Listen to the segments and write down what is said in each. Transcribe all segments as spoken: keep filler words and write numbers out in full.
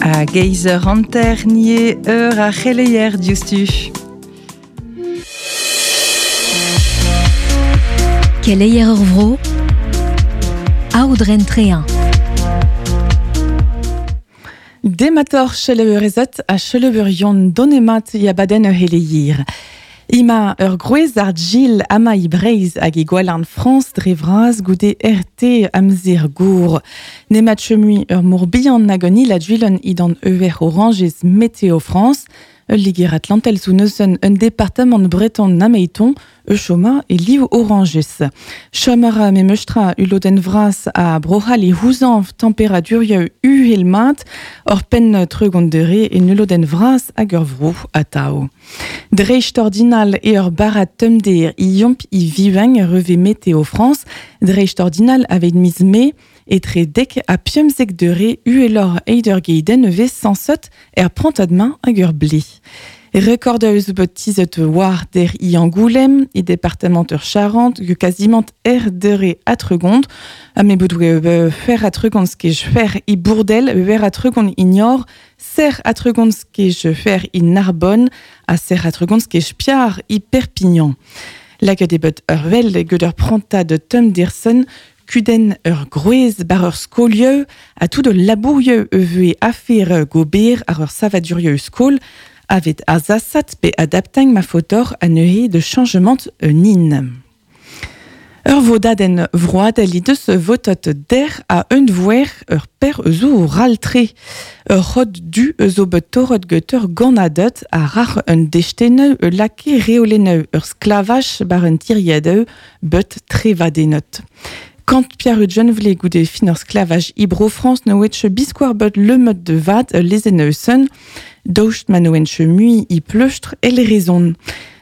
A geizer hanter nie eur a c'heleier diouzhtu. Keleier ur vro, aodren trean. Demator cheleurezet a cheleurion donemat yabaden ur heleier. Ima ur groez ar Gil ama i Breiz hag e gwalarn Frans dre vras goude R T amzer gour. Nemat chemui ur mor bihan nag an il a duilon idan euer oranges Météo France. Ul liger Atlantel sou neuzen un département breton nameiton e choma e liv oranges. Chomara me meustra uloden vras a brohal e houzanv tempéradurieu uhel mat or pen treugont dere e nuloden vras hag ur vro atao. Dreist ordinal e ur barat tumder i yomp i viveng reve Météo France, dreist ordinal aveit miz me etre dek a piemzek dere uelor eider geiden vez sansot er prantadmain hag ur ble. Rekord eus bet tizet war der i Angoulême, i département ur Charente, ge quasiment er dere atregond, a me bout fer atregond skej fer i Bourdel, wer atregond ignor, ser atregond skej fer i Narbonne, a ser atregond skej piar i Perpignan. Lak debet ur vel ged ur prantad Tom Dirsen, kuden ur groez bar ur skolieu, a tout de labourieu euvue afer gober ar ur savadurieu skol, avet azasat pe adaptang ma fotor a neuhe de changement nin. Ur vodaden vroad li deus votot der a un voer ur per zo raltre. Ur rod du zo bet torot get ur ganadet a rar un desteneu ur lake reoleneu ur sklavach bar un tiriadeu bet trevadenot. Kant Pierre John vle goude fin ur sklavaj Ibro France no etche biskoar bet le mod de vat lezeneusen, daoust ma no enche mui i pleustre el rezon.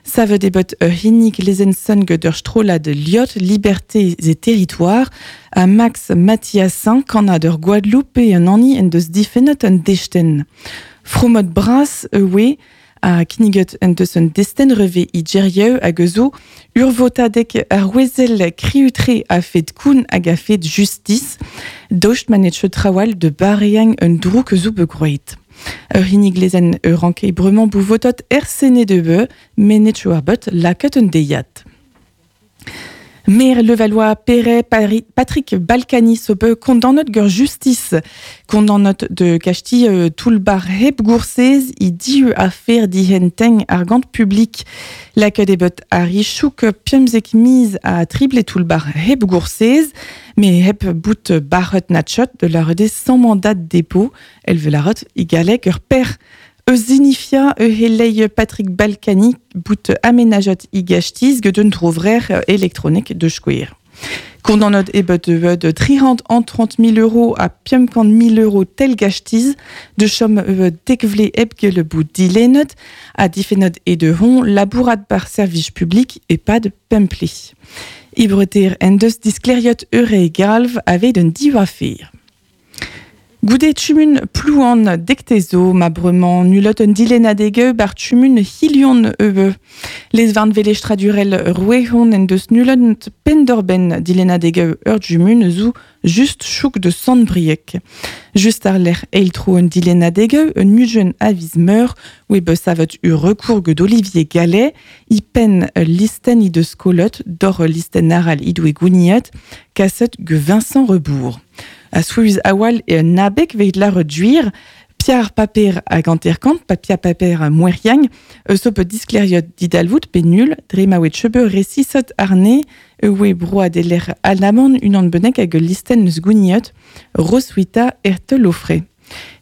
Savet e bet ur hinnig lezensen get ur strolad liot liberté et territoire a Max Mathiasin kannad ur Guadeloupe un anni en deus difennet un desten. Fromot bras ewe a kniget en deus un desten reve i djerieu hag ezo ur votadek ar wezel kriutre a fet koun hag a fet justice, daoust manetche trawal de bareang un drouk zo begroet. Ur hinnig lezen ur anke bremañ bouvotot er sene de beu, menetche ar bet laket un deiat. Maire Levallois, Perret, Patrick Balkany sobe condamnot gur justice, condamnot de Castille euh, toulbar hep goursez i diu affaire dihenteng argant public. La debet a richouk piemzek mise a trible toulbar hep goursez, mais hep bout barret natchot de la rede sans mandat de dépôt, elle veut la rot igalek ur père. Eus helei Patrick Balkany bout aménageot i gachtiz get un trouvrer électronique de chkouir. Condamnot e bet de trihant an trente mille euros a piemkant mille euros tel gachtiz, de chom e dekvle ebge le bout dilenot, a difenot e de hon labourat par service public et pas de pempli. Ibreter en deus diskleriot eure galv avait d'un diva fer. Goude tumun plouan dektezo ma bremañ nulot un dilenadege bar tumun hilion eue. Les varn velestradurel rouehon en deus nulot pendorben dilenadege ur jumun zou just chouk de sandbriek. Just ar l'er eiltro un dilenadege un mujen aviz meur oe be savet ur recours d'Olivier Gallet i pen listen i de skolot dor listen aral idoue gouniet kaset ge Vincent Rebourg. A souiz awal e un abek veit la reduire, Pierre Paper a ganterkant, papia paper a moueriang, eus op diskleriot didalvout pe nul, dre ma oet chebe resisot arne, eue broa de l'er alaman unan benek hag listen eus gouniot, roswita erte lofre.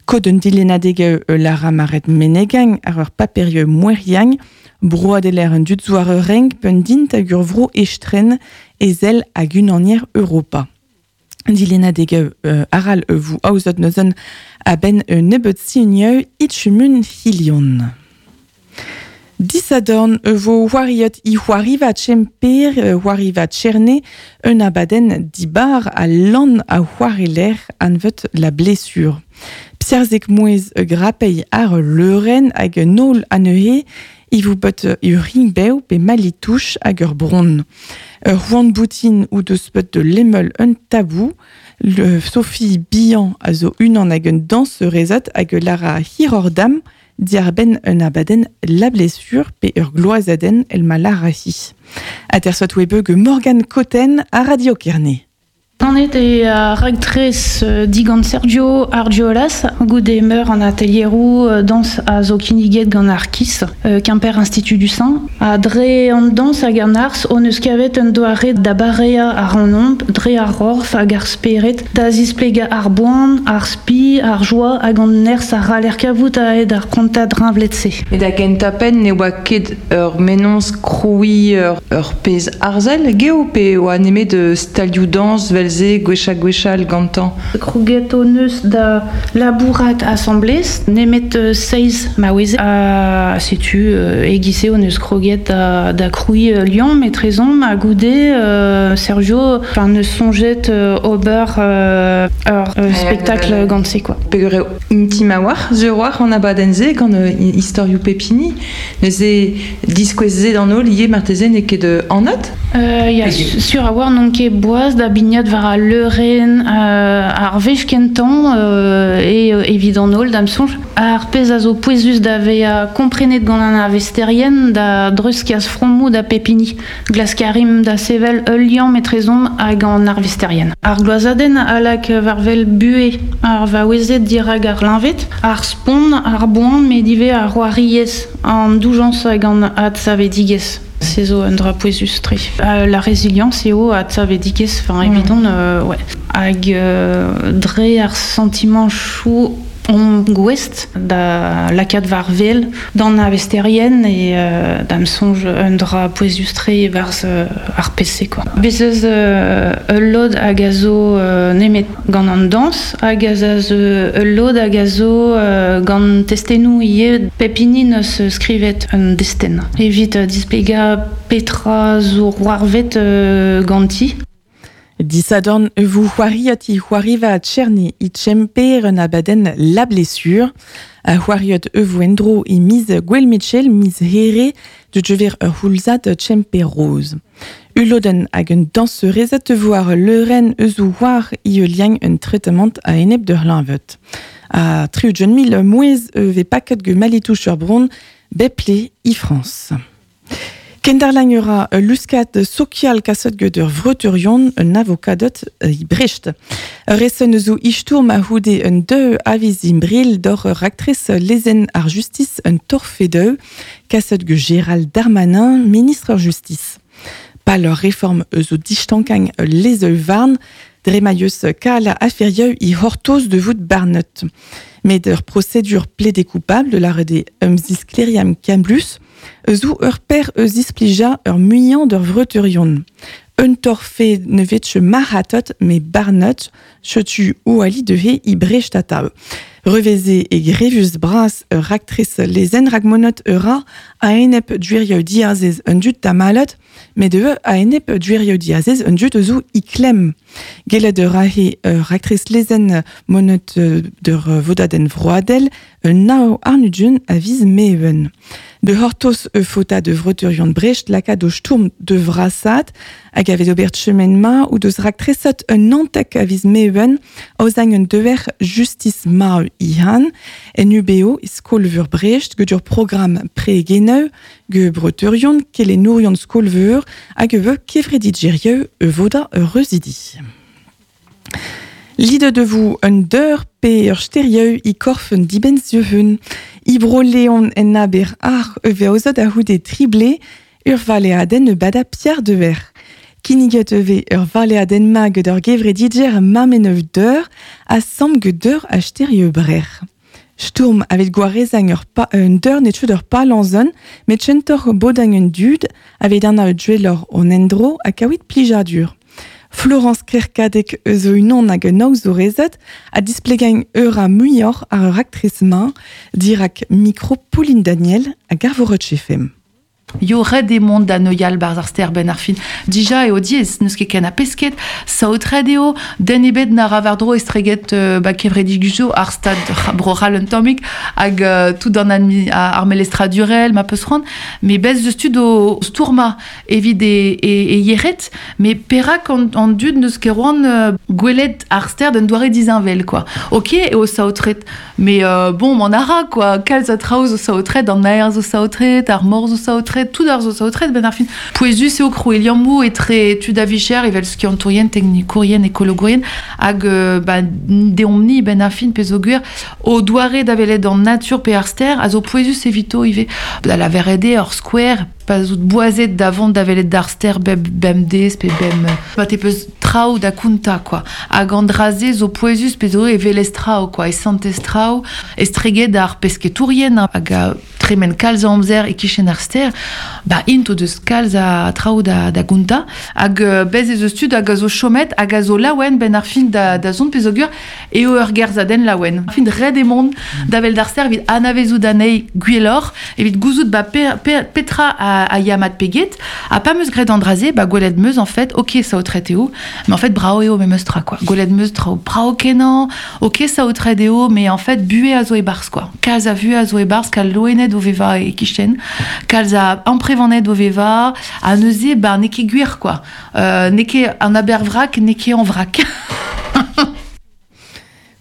Kod un dilenadege e lara maret menegang ar ur paperieu moueriang, broa de l'er un dutzoar reng pen dint hag ur vro estren ezel hag unanier Europa. Dilenadege euh, aral euh, vous aozot neuzen a ben euh, nebet signeu itchumun hilion. Disadorn vo wariot i wariva tchemper wariva tcherne un abaden dibar a lan a wariler anvet la blessure. Pserzek mouez grapei ar leuren hag nol aneuhe I vou bet ur ringbev pe malitouch hag ur bron. Ur c'hoant boutin ou deus bet de lemel un tabou, le Sophie Bihan a zo unan hag un danserezat hag lara hirordam diarben un abaden la blessure pe ur gloazaden el ma larahi. Atersot webeu Morgan Cotten a Radio Kerne. Ganet e a raktres digant Sergio Argiolas, goude meur an atelierou dans a zo kinniget gant ar Kiss, Quimper Institut du Sein. A dre an dans hag an arz, on eus kavet un doare da barea ar an omp, dre ar rorf hag ar speret, da zisplega ar boan, ar spi, ar joa hag an nerz ar raler kavout a ed ar prantad rinvlet-se. E da gentapen ne oa ket ur menons kroui ur, ur pez arzel, geo pe oa nemet de stalioù dans vel ze gwechal gwechal gantañ. Krouget o neus da labourat assemblez, nemet uh, seiz maoueze. A setu uh, egise o neus kroget da, da kroui uh, lion metrezon ma goude uh, Sergio enfin, neus sonjet uh, ober uh, ur uh, spectacle gantse quoi. Peger eo intim a war, ze war an abadenn ze gant uh, istorioù pepini, neuze diskouez ze d'an holl ie marteze n'eo ket uh, anat? Euh, ya, sur a war n'on ket boaz da bignat war a leuren euh, ar vech kentan euh, e euh, evit an holl da'm soñj. Ar pezh a zo pouezus da vezañ komprenet gant an arvesterien da dreuzkas fromoù da pepini. Glaskarim da sevel ul liamm etrezomp hag an arvesterien. Ar gloazadenn a lak war vel buhe ar vaouezed dirak ar liñvet, ar spont, ar boan met ivez ar c'hoariez, an doujañs hag an adsavedigezh. Se zo un dra pouezus tre. Euh, la résilience eo adsavedigezh, enfin evidon, euh, ouais. Hag euh, dre ar sentiment chou on gouest da lakaat war vel d'an arvesterien e euh, da'm soñj un dra pouezus tre war euh, ar P C quoi. Bez eus euh, ul lod hag a zo euh, nemet gant an dans, hag a zo ul lod hag a zo euh, gant testennoù ivez pep hini neus skrivet un destenn. Evit euh, displegañ petra zo c'hoarvet euh, ganti. Disadorn vous c'hoariot i c'hoariva a Tcherni i tchemper un abadenn la blessure. A c'hoariot e endro i miz Gwel Mitchell miz here de djever ur c'houlzad tchemper rose. Uloden hag un danserezet vo ar leuren eus o war i liang un traitement a enep de hlinvet. A tri-ugent mil mouez e ve paket ge malitouch ur bron beple i France. Kenderlang ura luskat sokial kasot get ur vreuturion un avokadot i Brecht. Resen zo istourm a houde un deux aviz imbril d'or ur actrice lezen ar justice un torfedeu kasot ge Gérald Darmanin, ministre ur justice. Pa leur réforme eus o distankang lezeu varn, dre ma yeus kal aferieu i hortoz de vout barnet. Met ur procédure plaidé coupable de la rede umziskleriam kamblus, eus ou ur per eus isplija ur muian d'ur vreuturion. Un torfe ne vetche maratot me barnet, chetu ou ali de he i brechtatav. Reveze e grevus bras ur actrice lezen ragmonot ura a enep duirio diazez un dut tamalot, met de a enep duirio diazez un dut eus ou i klem. Gellet ur ahe ur actrice lezen monot d'ur vodaden vroadel un nao arnudjun a viz meven. De hortos e fota de vreuturion Brecht lakaat o stourm de vrasat hag a vez ober chemen ma ou deus raktresot un antek a viz meven aozang un dever justice ma ihan en U B O skolveur Brecht get ur programm pre-geneu ge breuturion kelenourion skolveur hag e kevredidgerieu e voda reuzidi. Lide de vous un deur pe ur sterieu i korf un dibenzieuhun. I bro leon en aber ar e veozot a houde trible ur valeaden e bada Pierre de Ver. Kinniget eve ur valeaden ma get ur gevredidger mameneuf deur a sam get deur a sterieu brer. Sturm avet gwarezang ur pa un deur net ur palanzon, met chentor bodang un dud avet an a duelor on endro a kaouit plijadur. Florence Kerkadek eus o unan hag un aozourezet a displegañ ur a muioc'h ar ur actrice ma dirak mikro Pauline Daniel a garvorot chefem. Yo red e mont da neuial barz ar ster ben ar fin. Dija eo diez, neus ket ken a pesket, saotret eo, den ebet na ra war dro estreget euh, ba kevredigus ar stad bro c'hall un tammig hag euh, tout an admi, ar melestra durel ma peus c'hoant, mais bez deus tud o stourma evit e, e, e yeret, mais perak an, an dud neus ket roan euh, gwelet ar ster d'un doare dizinvel, quoi. Ok, eo saotret, mais euh, bon, m'en ara, quoi, kalz a traoz o saotret, an aer zo saotret, ar mor zo saotret, tout ar zo saotret ben ar fin. Pouezus eo krou eliammou etre tud a vicher evel skiantourien, teknikourien, ekologourien, hag euh, ba, deomp-ni ben ar fin pezh o gwir o doare da velet an natur pe ar ster a zo pouezus evito ive. Da la verede ur square, pa zout boazet da vont da velet d'ar ster bem, bem dez pe bem... Ba te peus traoù da kounta, quoi. Hag an draze zo pouezus pe zo e velez traoù, quoi, e santez traoù, estreget ar pesketourien, hag a tremen kalz a amzer e kichen ar ster, ba int o deus kalz a traoù da, da gounta, hag euh, bez ez eus tud hag a zo chomet, hag a zo laouen ben ar fin da, da zont pezh o gwir, eo ur gerzadenn laouen. Fin red e mont da vel d'ar ster evit anavezout anezhi gwelloc'h, evit gouzout ba pe, pe, petra a, a yamat peget, ha pa meus graet an draze, ba gwelet meus en fait, ok saotret eo, mais en fait brao eo me meus tra, quoi. Gwelet meus traoù brao kenañ, ok saotret eo, mais en fait buhe a zo e barz, quoi. Kalz a vue a zo e barz, kal loened o veva e kichen, kalz a amprevaned o veva, a neuze, ba n'eo ket gwir, quoi. Euh, n'eo ket an abervrak, n'eo ket an vrak.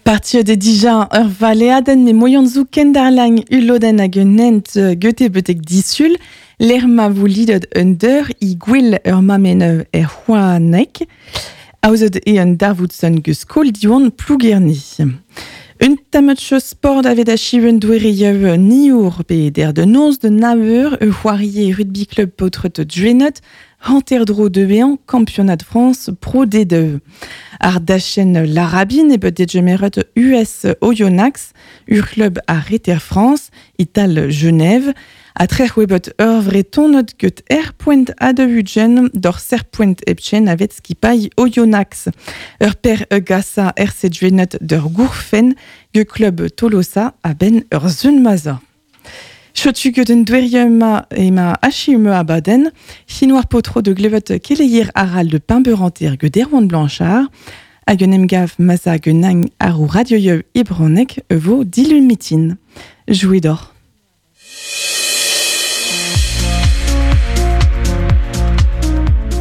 Partir de dija ur valeadenn me moian zo kendarlañ ulodenn hag un hent gote betek disul, l'er ma vo lidet un deur i gwell ur mamen er c'hoanek, aozet e un darvoudson geus skol diwan plougerni. Un tamatch sport avet achiven douereiev niour pe der de noz de naveur e c'hoarie rugby club potret djuenot, hanterdro de bean, championnat de France pro D deux. Ar dachen l'Arabine e bet degemeret U S Oyonnax, ur club a Reter France, Ital Genève, a trec'h webet ur vretonot get er point a de ugen d'or ser point epchen avet skipailh Oyonnax. Ur per e gasa R C djuenot d'ur gourfen ge club Tolosa a ben ur zun maza. Chotu get un dweriem ema achiume abaden, chinoir potro de glevet keleier aral de pimberanter ge derwan Blanchard, hag un emgav maza ge nang arou radioieu ebronek vo dilumitin. Joué d'or.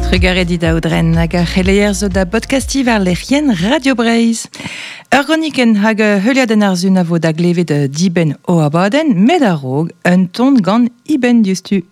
Trugarez dit aoudren hag ar c'heleier zo da podcasti war lec'hien Radio Breizh. Ur gronikenn hag heuliadenn ar zun a vo da glevet dibenn o abadenn, met a-raok un ton gant iben diouzhtu.